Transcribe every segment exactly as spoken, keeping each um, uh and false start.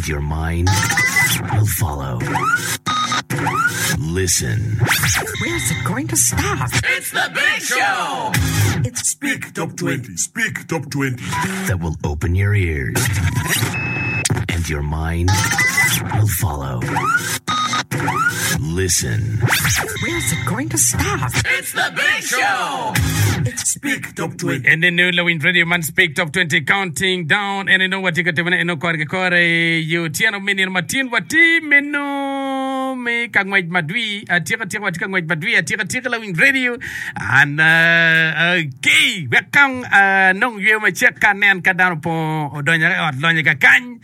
And your mind will follow. Listen. Where's it going to stop? It's the big show! It's Speak Top twenty. Speak Top twenty. That will open your ears. And your mind will follow. Listen. Where's it going to stop? It's the big show! It's Speak Top twenty. En eno lawiny radio man Speak Top twenty Counting Down en eno watye ka timone eno kore ki kore i otyeno me nino matin watye meno me ka ngwec madwi atika tika watye ka ngwec madwi atika tika lawiny radio an okay wek kong anong yweyo macek ka anen ka dano opongo odonyo i ot lonyo kakany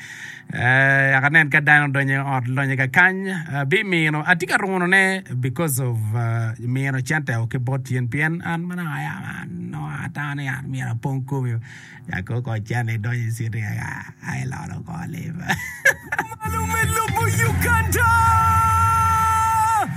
Wek anen ka dano odonyo i ot lonyo kakany, abimino, atye ka runone because of mino cente o ki bot yen pien an ma nongo aya nongo atamo ni an myero apong komi ya ko ko cente idonyo i citi ai lolo ko lim. Malo me lobo Uganda!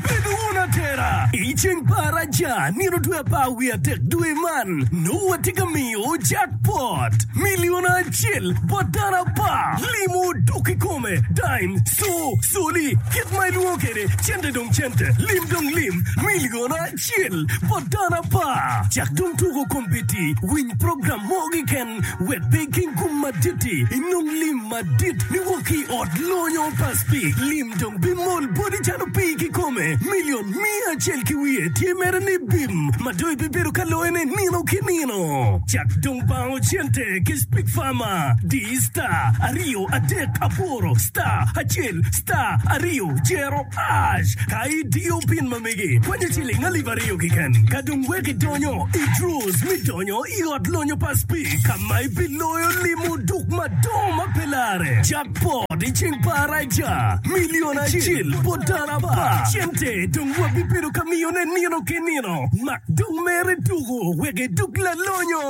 Bed wun atera i ceng pa Araja nino dwe apar wiye adek dwe man, nongo watye ka miyo jackpot milion acel bot dano apar. Limo dok kikome, dime, co, coli, kit ma ilwongo kwede, cente dong cente, lim dong lim, milion acel bot dano apar. Cak dong tuko kombeddi, winy program mo keken wek pe iking gum madit-ti, inong lim madit niwok ki i ot lonyo pa Speke. Lim dong bimol boti calo pii kikome. Milion miya acel ki wiye tye mere ni bim ma dong ibibedo ka loyone nino ki nino. Cak dong bango cente ki Speke Farmer. Di star aryo adek aboro star acel star aryo jero ash ka idiyo pin ma megi. Kwanyo ciling alip aryo keken ka dong wek idonyo i draws me donyo i ot lonyo pa Speke ka ma ibiloyo limo duk madongo ma pe lare. Jackpot i ceng pa Araja, milion acel bot dano apar. Cente dong wabibedo ka miyone nino ki nino. Mak dong mere tuko wek iduk lalonyo.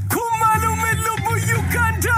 Kumalo me lobo Uganda!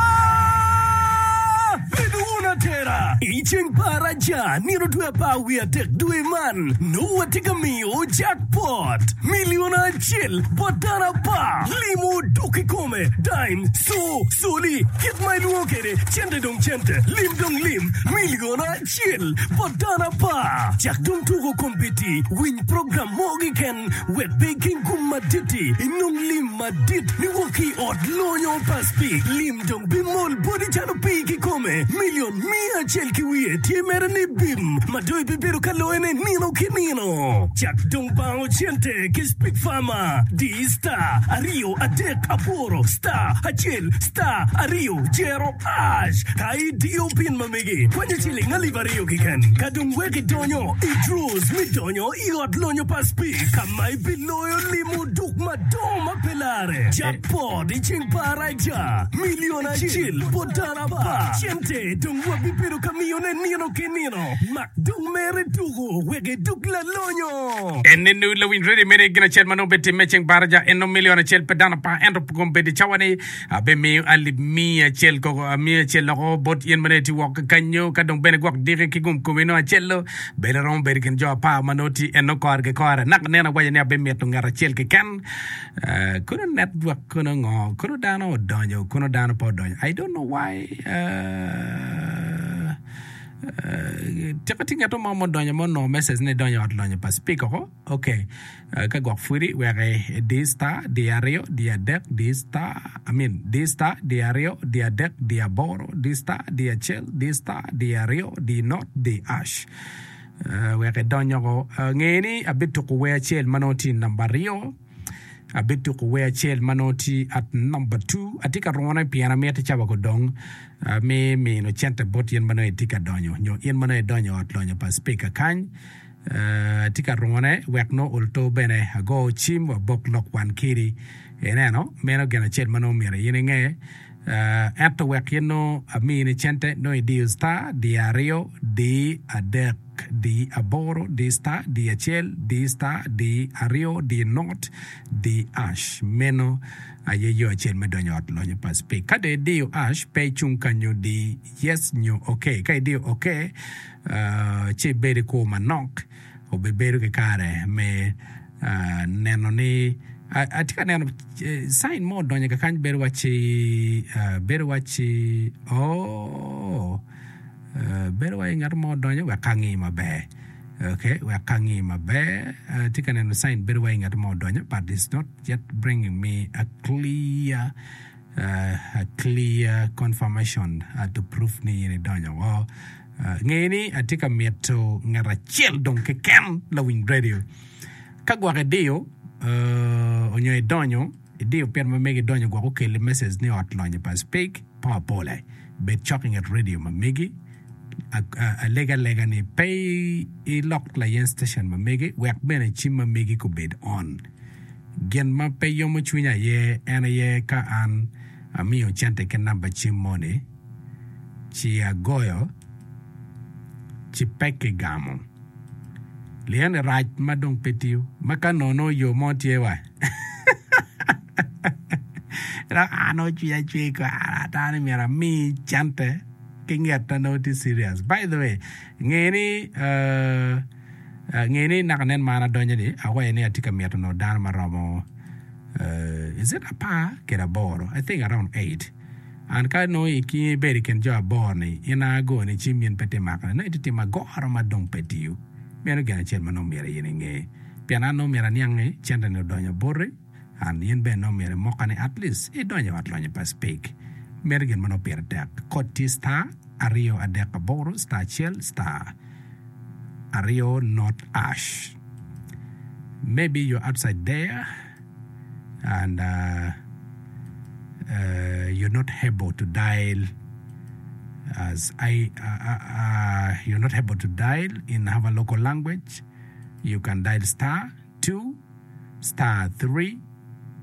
Bed wun atera i ceng pa Araja nino dwe apar wiye adek dwe man, nongo watye ka miyo jackpot milion acel bot dano apar. Limo dok kikome, dime, co, coli, kit ma ilwongo kwede, cente dong cente, lim dong lim, milion acel bot dano apar. Cak dong tuko kombeddi, winy program mo keken wek pe iking gum madit-ti, inong lim madit niwok ki i ot lonyo pa Speke. Lim dong bimol boti calo pii kikome. Milion miya acel ki wiye tye mere ni bim ma dong ibibedo ka loyone nino ki nino. Cak dong bango cente ki Speke Farmer. Di star aryo adek aboro star acel star aryo jero ash ka idiyo pin ma megi. Kwanyo ciling alip aryo keken ka dong wek idonyo i draws me donyo i ot lonyo pa Speke ka ma ibiloyo limo duk madongo ma pe lare. Jackpot i ceng pa Araja, milion acel bot dano apar. Cente dong wabibedo ka miyone nino ki nino. Mak dong mere tuko wek iduk lalonyo. En nenu lawiny redio mere gin acel ma nongo bitimme ceng baraja en nongo milion acel pe dano apar ento kombeddi cawa ni abimiyo alip miya acel koko miya acel loko bot in ma nongo itye woko kanyo ka dong bene gwok diki ki gum komi nongo acello bedo romo bedo i kin jo apar ma nongo tye eno kore ki kore naka nen awaco ni abimito ngat acel keken Eh, kono network kono ngo kono dano odonyo kono dano pe odonyo I don't know why eh, eh, tika tye ngat mo mudonyo ma onongo message ni idonyo i ot lonyo pa speaker ko ok eh, ka gwok pwodi wek idi star di aryo di adek di star I mean di star di aryo di adek di aboro di star di acel di star di aryo di not di ash Eh, wek idony oko. Eh, nge ni abituko wer acel ma nongo tye i namba aryo, abituko wer acel ma nongo tye at namba two. Atye ka rune pien amito cawa gudong eh, me mino cente bot in ma nongo itye ka donyo nyo in ma nongo idonyo i ot lonyo pa spika kany. Eh, atye ka rune wek nongo olto bene ago cim wabok lok wan kedi. Ineno, meno gin acel ma nongo myero in inge. Ento wek in nongo amini cente, nongo idiyo star, di aryo, di adek, di aboro, di star, di acel, di star, di aryo, di not, di ash. Meno aye yo acel me donyo i ot lonyo pa Speke. Ka dong idiyo ash, pe icung kanyo, di yes nyo ok. Ka idiyo ok, ci ibed i kwo manok, obibedo ki kare me neno ni Atye ka neno sign mo odonyo kakany bedo wacci bedo wacci ooh bedo wacci ngat mo odonyo wek angi maber okay wek angi maber atye ka neno sign bedo wacci ngat mo odonyo but it's not yet bringing me a clear a clear confirmation to prove ni in idonyo woko. Nge ni atye ka mito ngat acel dong keken lawiny radio. Ka gwok idiyo onyo idonyo, idiyo pit ma megi idonyo gwok okelli message ni ot lonyo pa Speke po apole. Bed cok inget radio ma megi. Alego alega ni pe ilok layen station ma megi wek bene cim ma megi kubed on. Gin ma pe yomo cwinya aye en aye ka an amiyo cente ki namba cim moni ci agoyo ci pe kigamo. Lien-ni rac ma dong pe tiyo, ma ka nono yo mo tye wa. Dok an nongo cwinya cwer kara ata ni myero ami cente ki ngetta nongo tye serious. By the way, nge ni nge ni naka nen ma an adonyo ni awaco ni atye ka mito nongo dano ma romo is it apar kede aboro I think around eight. And ka nongo in ibedo i kin jo aboro-ni, in a agoni cim in pe tye makone, nongo itye timo agoro ma dong pe tiyo. Meno gin acel ma nongo myero in inge. Pien an nongo myero aniang ni cente-ni odonyo boti, and in bene nongo myero imoka ni at least idonyo i ot lonyo pa Speke. Meno gin ma nongo pire tek. Kod tye star aryo adek aboro star acel star aryo not ash. Maybe you're outside there and uh, uh, you're not able to dial as I uh, uh, uh, you're not able to dial in our local language, you can dial star two star three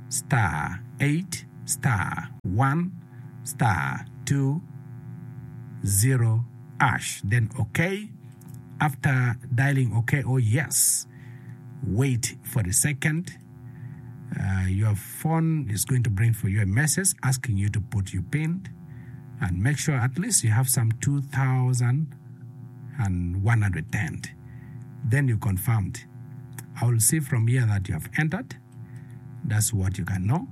star eight star one star two zero hash. Then okay. After dialing okay or yes, wait for a second. Uh, your phone is going to bring for you a message asking you to put your PIN and make sure at least you have some two thousand one hundred ten. Then you confirmed. I will see from here that you have entered. That's what you can know.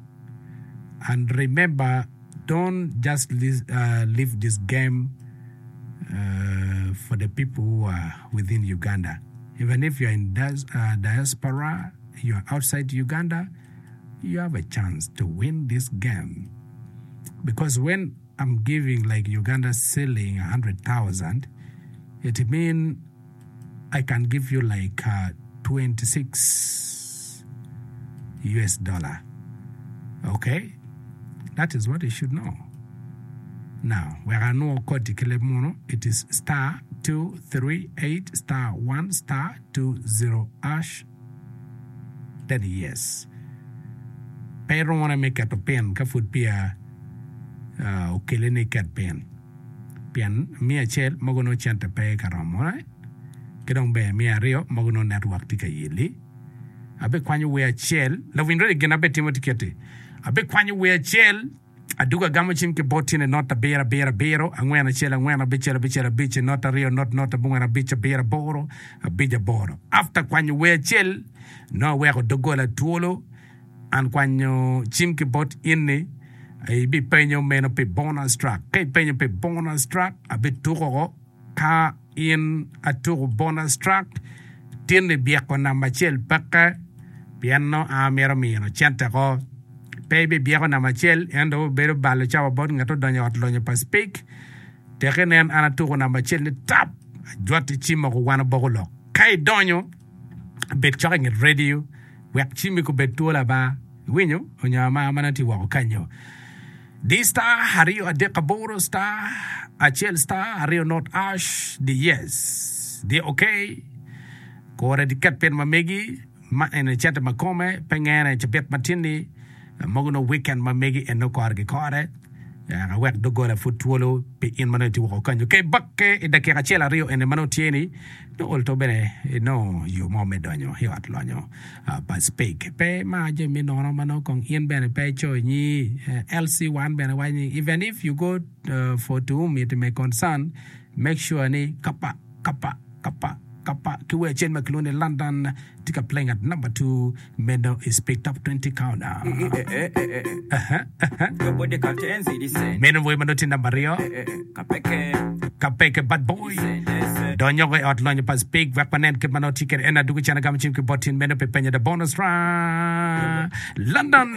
And remember, don't just leave, uh, leave this game uh, for the people who are within Uganda. Even if you're in dias- uh, diaspora, you're outside Uganda, you have a chance to win this game. Because when I'm giving like Uganda selling a hundred thousand, it means I can give you like uh, twenty-six U S dollar. Okay? That is what you should know. Now, where I know code mono, it is star two three eight star one star two zero hash. Then yes. Pero wanna make it a pin, ka food pia, uh, okele ni ket pin. Pien mi acel mogo no cente pe ka romo, eh? Ki dong ber mi aryo mogo no network tye ka yeli. Abe kwanyo wer acel, lawiny ready gin abe timo tiketi. Abe kwanyo wer acel, aduga gamo cim ki bot tine not abiro abiro abiro, angwen acel angwen abicel abicel abic, not aryo not not abongwen abic abiro aboro, abic aboro. After kwanyo wer acel, no aweko dogola twolo, an kwanyo cim ki bot inni, ibi penyo meno pi bonus track. Ka ipenyo pi bonus track, abi tuko ka in atuko bonus track, tinni byeko namba acel peke, pien no a mito mino cente ko. Pe ibi byeko namba acel, ento obedo balo cawa bot ngat odonyo ot lonyo pa Speke. Teke nen an atuko namba acel ni tap, ajwati cim oko wan oboko lok. Ka idonyo, bed cok inget radio, wek cimi kubed twolo aba. Iwinyo, onyo ama mana ti woko kanyo. D star aryo adek aboro star acel star aryo not ash D yes D okay. Kore di ket pin ma megi ma ene cente ma kome pe ngene cabit matinni mogo no weekend ma megi eno kore ki kore. Awek dogola pud twolo pi in ma nongo itye woko kanyo. Ke bakke i dakika acel aryo ene ma nongo tye ni no olto bene no yo mo me donyo i ot lonyo pa Speke. Pe ma jami me nono ma nongo kong in bene pe icoyo nyi L C one bene waco ni even if you go uh, for to whom it may concern, make sure ni kapa kapa kapa Kapa ki wer acel ma kilwongo ni London tye ka playing at number two meno i Speak Top twenty Countdown. Meno wer ma nongo tye namba aryo Kapeke Bad Boy donyo i ot lonyo pa Speak wek wanen kit ma nongo tye kwede en adwogo cen agamo cim ki bot tin meno pi penyo the bonus round London.